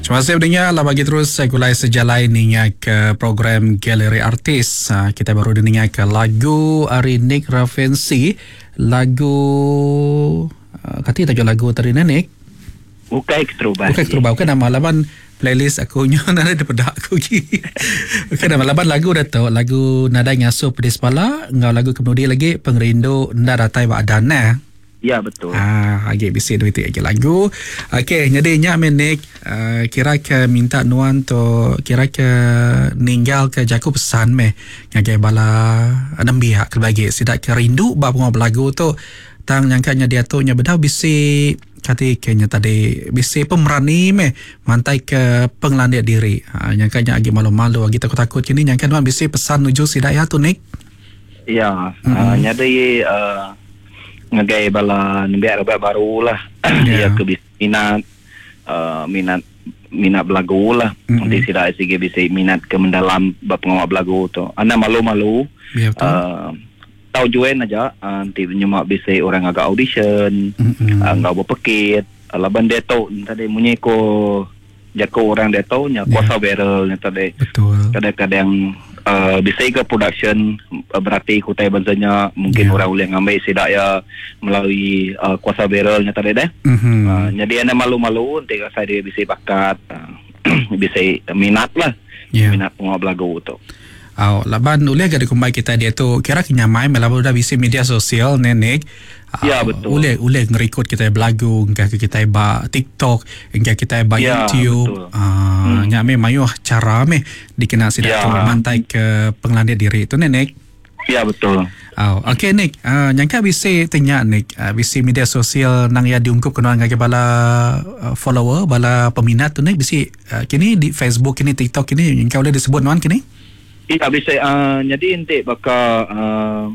Terima kasih pendengar lah bagi terus saya gulai sejalai ninga ke program Galeri Artis. Ha, kita baru dengar ke lagu ari Nick Ravensi, lagu uh, kati tajuk lagu tadi Nick? Bukai keterubah. Bukai keterubah, bukan nama laban playlist aku nyo nadai dipeda aku gi. Bukan nama laban lagu dah tu, lagu Nadai Ngasuh Pedis Pala enggau lagu kemudi lagi Pengerindu Enda Datai Ba Adan neh. Ya betul. Ah agi bisi duit ti agi lagu. Okey nyadi nya meh Nick uh, kira ke minta nuan tu kira ke ninggal ke jaku pesan meh ngagai bala nembiak kelebih agi sida ke rindu ba pengawa belagu tu tang nyangka nya diatu nya bedau bisi kati ke nya tadi bisi pemerani meh mantai ke pengelandik diri. Ha nyangka nya agi malu-malu agi takut-takut kini nyangka nuan bisi pesan nuju sida iya tu Nick. Ya, mm-hmm. uh, nyadi uh, ngagai bala nembiak rebak baru lah. Yeah. Iya ke bisi minat uh, minat minat belagu lah. Mm-hmm. Nanti sida sigi bisi minat ke mendalam ba pengawa belagu tu. Anda malu-malu. Yeah, betul. Uh, tau join aja uh, nanti nyema bisi orang ngaga audition mm-hmm. uh, enggau berpekit. Uh, laban dia tu tadi munyi ko Jaku orang diatu nya kuasa yeah. viral nya tadi. Betul. Kadang-kadang uh, bisi ke production uh, berati ke utai bansa nya mungkin yeah. orang ulih ngambil sida ya melalui uh, kuasa viral nya tadi deh. Mm-hmm. Uh, jadi anda malu-malu enti rasa dia bisi bakat uh, bisi minat lah. Yeah. Minat pengawa belagu tu. Au, laban ulih ga dikumbai kitai diatu kira ke nyamai meh laban udah bisi media sosial ne Nick. Ya betul. Ulih ulih ngerikod kitai belagu engka ke kitai ba TikTok, engka kitai ba ya, YouTube. Ah nya meh mayuh chara meh dikena sida ya. tu mantai ke pengelandik diri tu ne Nick. Ya betul. Au, okey Nick, uh, nyangka bisi tanya Nick, uh, bisi media sosial nang iya diungkup ke nuan ngagai bala uh, follower, bala peminat tu Nick, bisi uh, kini di Facebook kini TikTok kini nyangka ulih disebut nuan kini? Ya bisi uh, jadi enti baka uh,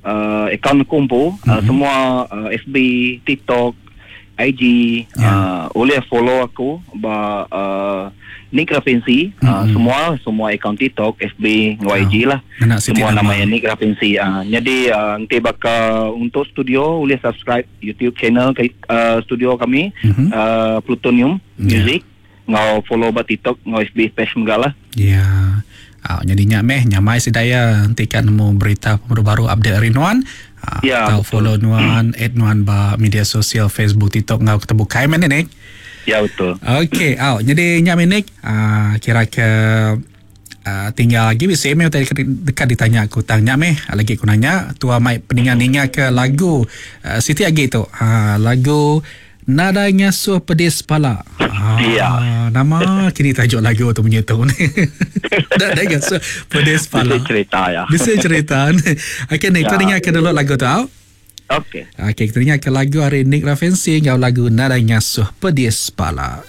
uh, akaun aku empu mm-hmm. uh, semua uh, FB, TikTok, IG Ya. uh, ulih follow aku ba uh, Nick Rafinsi Mm-hmm. uh, semua semua akaun TikTok, FB, enggau IG lah. Ngena siti Semua nama. nama Nick Rafinsi. Uh, jadi uh, enti baka untuk studio ulih subscribe YouTube channel ke, uh, studio kami Mhm. uh, Plutonium Ya. Music enggau follow ba TikTok enggau FB page mega lah. Ya. Au nyadi nya meh nyamai sida iya enti ka nemu berita pemadu baru update ari nuan. Ah, Ya, tau betul. follow nuan, add nuan ba media sosial Facebook, TikTok enggau ke tebukai meh ne Nick. Ya betul. Okey, au nyadi nya meh Nick. Ah, kira ke ah, tinggal lagi bisi meh utai deka ditanya aku tang nya meh lagi ku nanya tua mai peninga-ninga ke lagu ah, siti agi tu. Ah, lagu Nadai Ngasuh Pedis Pala. Ah, Ya. Nama kini tajuk lagu tu munyi tu ni. Nadai Ngasuh Pedis Pala. Bisi cerita ya. Bisi cerita ni. Okey Nick, Ya. kita dengar ke dulu lagu tu. Au. Okey. Okey, kita dengar ke lagu ari Nick Ravensi enggau lagu Nadai Ngasuh Pedis Pala.